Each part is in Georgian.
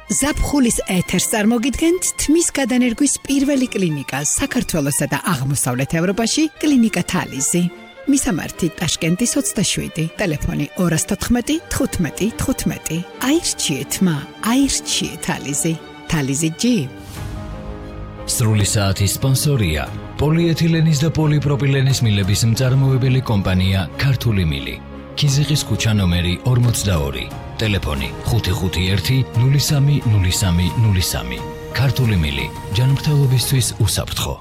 ზაფხულის ეთერს წარმოგიდგენთ თმის გადანერგვის პირველი კლინიკა საქართველოსა და აღმოსავლეთ ევროპაში კლინიკა თალიზი. მისამართი ტაშკენტის 27, ტელეფონი 214 15 15. აირჩიეთ მა, აირჩიეთ თალიზი. თალიზი G. სრული საათის სპონსორია პოლიეთილენის და პოლიპროპილენის მილების მწარმოებელი კომპანია ქართული მილი. ქიზიყის ქუჩა ნომერი 42, ტელეფონი 551 03 03 03. ქართული მილი, ჯანმრთელობისთვის უსაფრთხო.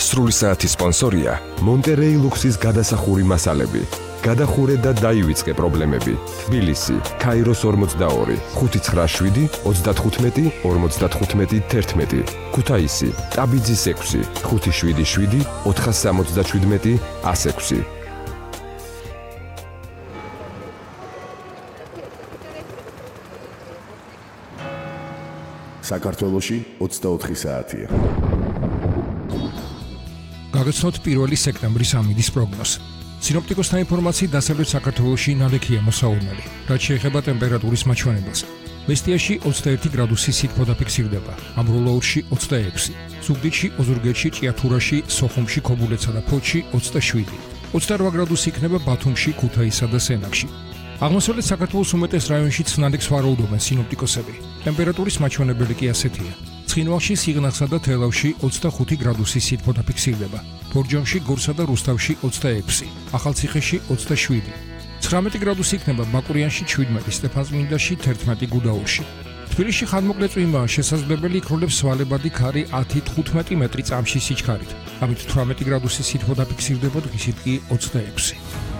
სრული საათის სპონსორია მონტერეი ლუქსის გადასახური მასალები. გადახურე და დაივიწყე პრობლემები. თბილისი, ქაიროს 42, 597 35 55 11. ქუთაისი, ტაბიძის 6, 577 477 106. საქართველოში 24 საათია. გაგაცნოთ 1 სექტემბრის ამინდის პროგნოზი. სინოპტიკოსთა ინფორმაციით დასავლეთ საქართველოში ნალექია მოსაურნელი, რაც შეეხება ტემპერატურის მაჩვენებელს. მესტიაში 21 გრადუსი სითბო დაფიქსირდება, ამბროლაურში 26, ზუგდიდში, ოზურგეთში, ჭიათურაში, სოხუმში, ქობულეთსა და ფოთში 27, 28 გრადუსი იქნება ბათუმში, ქუთაისსა და სენაკში. აღმოსავლეთ საქართველოს უმეტეს რაიონშიც ნალექს ვარაუდობენ სინოპტიკოსები. ტემპერატურის მაჩვენებელი კი ასეთია. ცხინვალში, სიღნაღსა და თელავში 25 გრადუსი სითბო დაფიქსირდება, ბორჯომში, გორსა და რუსთავში 26, ახალციხეში 27, 19 გრადუსი იქნება ბაკურიანში 17, სტეფანწმინდაში 11 გუდაურში. თბილისში ხანმოკლე წვიმაა შესაძლებელი, იქროლებს სვალებადი ქარი 10-15 მეტრი წამში სიჩქარით, ამით 18 გრადუსი სითბო დაფიქსირდება, დღისით კი 26.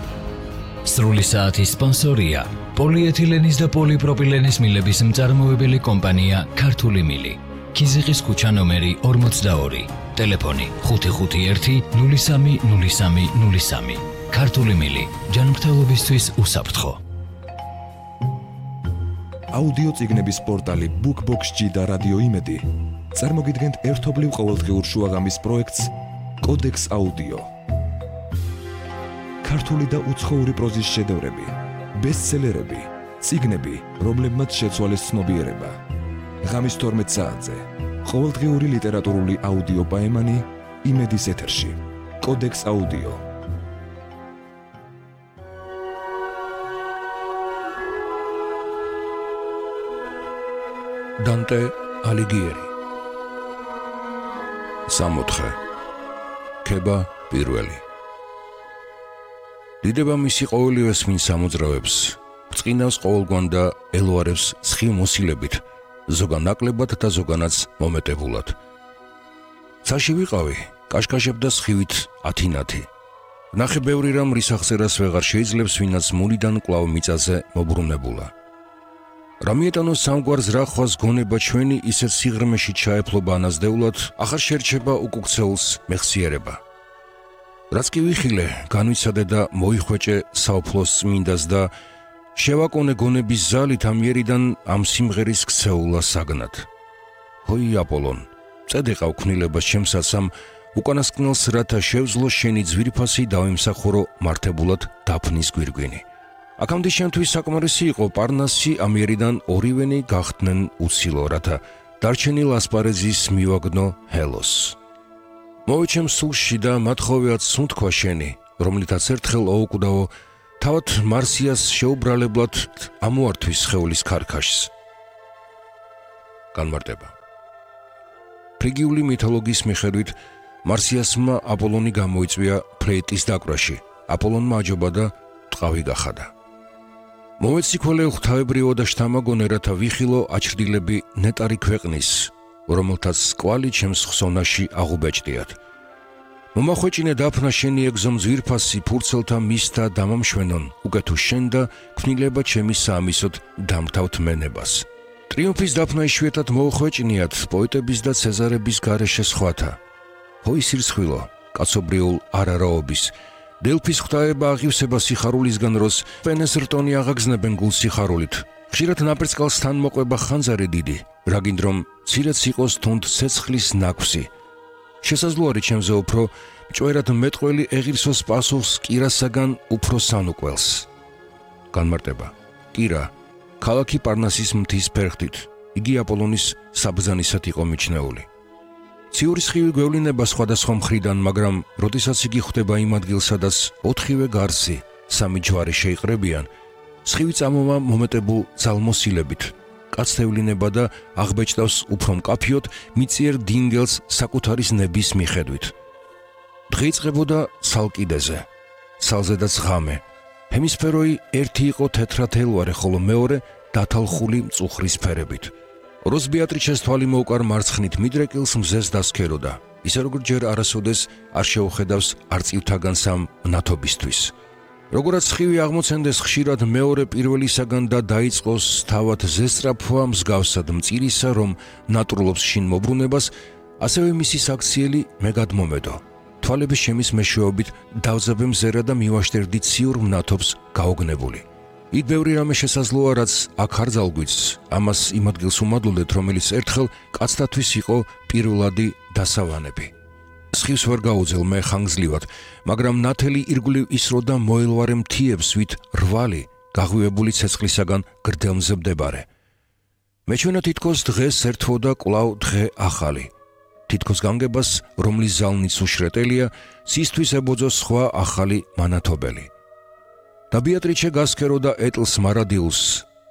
სრული საათის სპონსორია პოლიეთილენის და პოლიპროპილენის მილების მწარმოებელი კომპანია ქართული მილი. ქიზიყის ქუჩა ნომერი 42, ტელეფონი 551 03 03 03. ქართული მილი, ჯანმრთელობისთვის უსაფრთხო. აუდიო წიგნების პორტალი BookBox-G და რადიო იმედი წარმოგიდგენთ ერთობლივ ყოველდღიურ შუაღამის პროექტს კოდექს აუდიო. ქართული და უცხოური პროზის შედევრები, ბესტსელერები, წიგნები, რომლებმაც შეცვალეს ცნობიერება. ღამის 12 საათზე ყოველდღიური ლიტერატურული აუდიო პაემანი იმედის ეთერში. კოდექს აუდიო. დანტე ალიგიერი. სამოთხე. ქება პირველი. დიდება მისი ყოველივე სმინ სამოძრავებს, ბრწყინავს ყოველგვან და ელოარებს ცხიმ მოსილებით, ზოგან ნაკლებად და ზოგანაც მომეტებულად. ცაში ვიყავი, კაშკაშებდა სხივით 10-ნათი. ნახე ბევრი რამ რის აღწერას ვეღარ შეიძლება, ვინაც მულიდან კვლავ მიწაზე მობრუნებულა. რამიეტანოს სამგვარ ზრახვას გონება ჩვენი ისეთ სიღრმეში ჩაეფლობა ანაზდეულად, ახარ შერჩება უკუქცეულს მეხსიერება. რაც კი ვიხილე, განვიცადე და მოიხვეჭე საუფლოს წმინდას და შევაკონე გონების ზალით ამიერიდან ამ სიმღერის ქცეულა საგნად. ჰოი აპოლონ, წედეყავ ქმნილებას ჩემსაც ამ უკანასკნელს, რათა შევძლო შენი ძვირფასი დავიმსახურო მართებულად დაფნის გვირგვინი. აქამდე შემთთვის საკმარისი იყო პარნასი ამიერიდან ორივენი გახდნენ უცილო, რათა დარჩენილ ასპარეზის მივაგნო ჰელოს. მოვეჩემ სულში და მათხოვეად სუნთქვა შენი, რომლითაც ერთხელ ოუკვდაო თავად მარსიას შეუბრალებლად ამოართვის სხეულის ქარქაშს. განმარტება. ფრიგიული მითოლოგიის მიხედვით მარსიასმა აპოლონი გამოიწვია ფლეიტის დაკვრაში, აპოლონმა აჯობა და ტყავი გახადა. მოვეციქველე ღვთაებრივო და შთამაგონე, რათა ვიხილო აჩრდილები ნეტარი ქვეყნის, რომელთაც კვალი ჩემს ხსოვნაში აღუბეჭდიათ. მომახვეჭინე დაფნა შენი ეგზომ ძვირფასი ფურცელთა მისთა დამამშვენონ, უკეთუ შენ და ქმნილება ჩემი საამისოდ დამთავთ მენებას. ტრიუმფის დაფნა იშვიათად მოუხვეჭნიათ პოეტების და ცეზარების გარეშე სხვათა. ჰოი სირცხვილო, კაცობრიულ არარაობის, დელფის ღვთაება აღივსება სიხარულისგან, როს პენეს რტონი აღაგზნებენ გულ სიხარულით. ხშირად ნაპერწკალს თან მოყვება ხანძარი დიდი, რაგინდ რომ ცირეც იყოს თუნდ ცეცხლის ნაქვსი. შესაძლოა ჩემზე უფრო მჭვერად მეტყველი ეღირსოს პასუხს კირასაგან უფრო სანუყველს. განმარტება. კირა ქალაქი პარნასის მთის ფერხთით. იგი აპოლონის საბრძანისად იყო მიჩნეული. ციური სხივი გვევლინება სხვადასხვა მხრიდან, მაგრამ როდესაც იგი ხვდება იმ ადგილს, სადაც 4-ვე გარსი, 3 ჯვარი შეიყრებიან, სხივი წამოვა მომეტებულ ძალმოსილებით. კაცს ევლინება და აღბეჭდავს უფრო მკაფიოდ მიწიერ დინგელს საკუთარის ნების მიხედვით. დღე იწყებოდა სალკიდეზე, სალზედაც ღამე. ჰემისფეროი ერთი იყო თეთრათელვარე, ხოლო მეორე დათალხული მწუხრის ფერებით. როს ბეატრიჩეს თვალი მოუკარ მარცხნით მიდრეკილს მზეს დასქეროდა, ისე როგორც ჯერ არასოდეს არ შეუხედავს არწივთაგან სამ ნათობისთვის. Როგორც სხივი აღმოცენდეს ხშირად მეორე პირველისაგან და დაიწყოს თავად ზესწრაფვა მსგავსად მწირისა, რომ ნატრულობს შინ მოbrunებას, ასევე მისი საქციელი მე გადმომედო. თვალების შემის მეშვეობით დავზაბე მზერა და მივაშტერდი ციურ მნათობს გაოგნებული. იქ ბევრი რამე შესაძლოა, რაც აქ არ ძალგვიც, ამას იმ ადგილს უმადლოდეთ, რომელიც ერთხელ კაცთათვის იყო პირველადი დასავანები. სხივს ვერ გაუძელ მე ხანგრძლივად, მაგრამ ნათელი ირგვლივ ისრო და მოელვარე მთიებს, ვით რვალი, გაღვივებული ცეცხლისაგან გრდელმზე მდებარე. მეჩვენა თითქოს დღეს ერთვოდა კვლავ დღე ახალი. თითქოს განგებას, რომლის ზალნიც უშრეტელია, სისთვის ებოძო სხვა ახალი მანათობელი. და ბეატრიჩე გასქეროდა ეტლს მარადილს,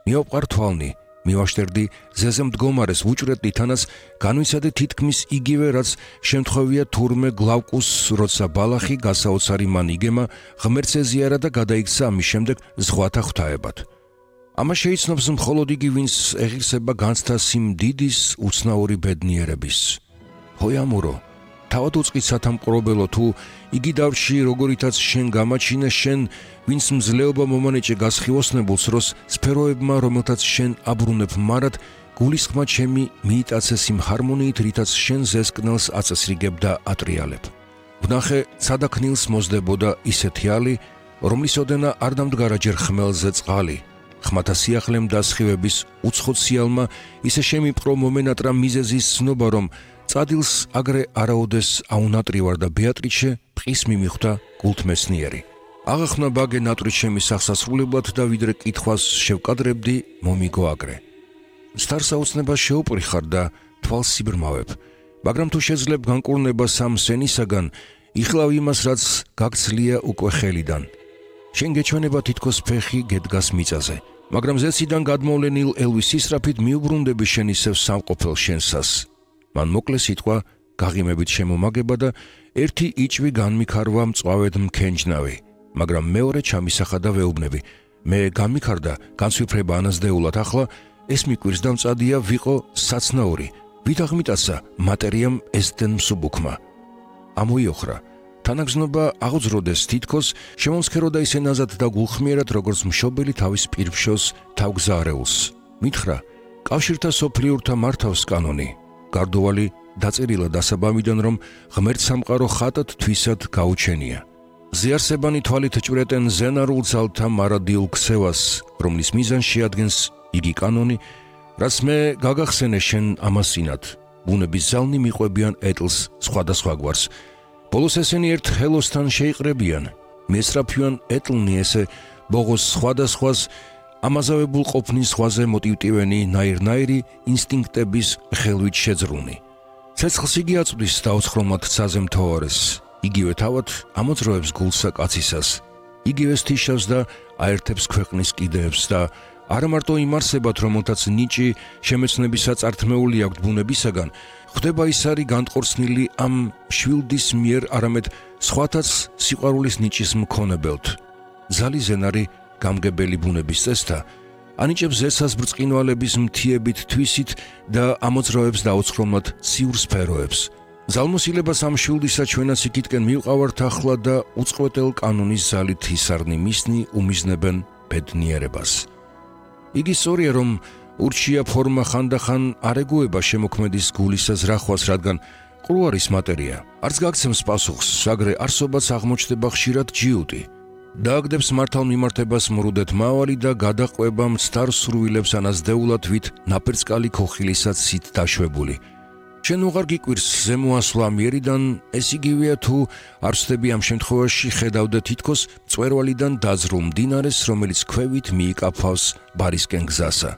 მიავყარ თვალნი, მივაშტერდი ზეზე მდგომარეს ვუჭრედი თანაც განვიცადე თითქმის იგივე, რაც შემთხვევია თურმე გლავკუს, როცა ბალახი გასაოცარი მან იგემა, ღმერთს ეზიარა და გადაიქცა ამის შემდეგ ზღვათა ღვთაებად. ამას შეიცნობს მხოლოდ იგი, ვინც ეღირსება განცდა სიმდიდის უცნაური ბედნიერების. ჰოიამურო, თავად უწყით სათამყრობელო, თუ იგი დავში როგორითაც შენ გამაჩინე, შენ ვინც მძლეობა მომანეჭე გასხივოსნებულს, როს სფეროებმა, რომელთაც შენ აბრუნებ მარად, გულისხმა ჩემი მიიტაცეს იმ ჰარმონიით, რითაც შენ ზესკნელს აწესრიგებ და ატრიალებ. ვნახე ცადაქნილს მოსდებოდა ისეთი ალი, რომლის ოდენა არ დამდგარა ჯერ ხმელზე წყალი. ხმათა სიახლემ და სხივების უცხოციალმა ისე შემიპყრო მომენატრა მიზეზის ცნობა, რომ წადილს აგრე არაოდეს აუნატრივარ და ბეატრიჩე პყის მიმიხვდა გულთმეცნიერი. აღახნა ბაგე ნატრიც ჩემი სახსასრულებლად და ვიდრე კითხვას შევკადრებდი, მომიგო აგრე. სტარსაუცნებას შეუპრიხარ და თვალს სიბრმავებ, მაგრამ თუ შეძლებ განკურნება სამ სენისაგან, იხლავ იმას, რაც გაგცლია უკვე ხელიდან. შენ გეჩვენება თითქოს ფეხი გედგას მიწაზე, მაგრამ ზეციდან გადმოვლენილ ელვის ისრაფით მიუბრუნდები შენ ისევ სამყოფელ შენსას. მან მოკლე სიტყვა გაღიმებით შემომაგება და ერთი იჭვი განმიქარვა მწვავედ მქენჯნავი, მაგრამ მეორე ჩამისახა და ვეუბნები. მე განმიქარდა, განსვიფრება ანაზდეულად, ახლა ეს მიკვირს და მწადია ვიყო საცნაური, ვით აღმიტაცა მატერიამ ესდენ მსუბუქმა. ამოიოხრა, თანაგზნობა აღოძროდეს თითქოს, შემომსქეროდა ისე ნაზად და გულხმიერად, როგორც მშობელი თავის პირბშოს თავგზაარეულს. მითხრა, კავშირთა სოფლიურთა მართავს კანონი. გარდოვალი დაწერილა დასაბამიდან, რომ ღმერთ სამყარო ხატად თვისად გაუჩენია. ზიარსებანი თვალით ჭვრეტენ ზენარულ ძალთა მარადილ ქსევას, რომლის მიზანს შეადგენს იგი კანონი, რაც მე გაგახსენე შენ ამასინად. ბუნების ზალნი მიყვებიან ეტლს სხვადასხვა გვარს. ბოლოს ესენი ერთ ხელოსთან შეიყრებიან. მესრაფიან ეტლნი ესე ბოღოს სხვადასხვას, ამაზავებულ ყოფნის სხვაზე მოტივტივენი ნაირ-ნაირი ინსტინქტების ხელვით შეძრუნი. ცეცხლს იგი აწვდის დაუცხრომლად ცაზე მთოვარეს, იგივე თავად ამოძროებს გულსა კაცისას, იგივე სტიშავს და აერთებს ქვეყნის კიდეებს და არა მარტო იმ არსებად, რომელთაც ნიჭი შემეცნებისა წართმეული აქვთ ბუნებისაგან, ხვდება ის არის განტყორცნილი ამ შვილდის მიერ, არამედ სხვათაც სიყვარულის ნიჭის მქონებელთ. ზალი ზენარი გამგებელი ბუნების წესთა, ანიჭებს ზესას ბრწყინვალების მთიებით თვისით და ამოძროებს დაუცხრომლად ციურ სფეროებს. ზალმოსილებას ამ შვილდისა ჩვენაც იქითკენ მივყავართ ახლა და უწყვეტელ კანონის ზალით ისარნი მისნი უმიზნებენ ბედნიერებას. იგი სწორია, რომ ურჩია ფორმა ხანდახან არ ეგუება შემოქმედის გულისა ზრახვას, რადგან ყრუ არის მატერია. არც გაგცემს პასუხს, აგრე არსობაც აღმოჩნდება ხშირად ჯიუტი. დააგდებს მართალმიმართებას მრუდეთ მავალი და გადაყვება მცდარ სურვილებს ანაზდეულად, ვით ნაპერწკალი ქოხილისად სით დაშვებული. შენ უღარ გიკვირს ზემოასვლა მიერიდან, ეს იგივეა თუ არ ვსდები ამ შემთხვევაში ხედავდა თითქოს მწვერვალიდან დაძრულ მდინარეს, რომელიც ქვევით მიიკაფავს ბარისკენ გზასა.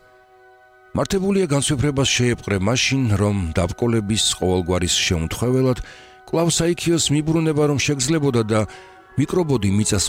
მართებულია განსვიფრებას შეეპყრე მაშინ, რომ დაბრკოლების ყოველგვარის შეუმთხვეველად კვლავ საიქიოს მიბრუნება რომ შეგძლებოდა და მიკრობოდი მიწას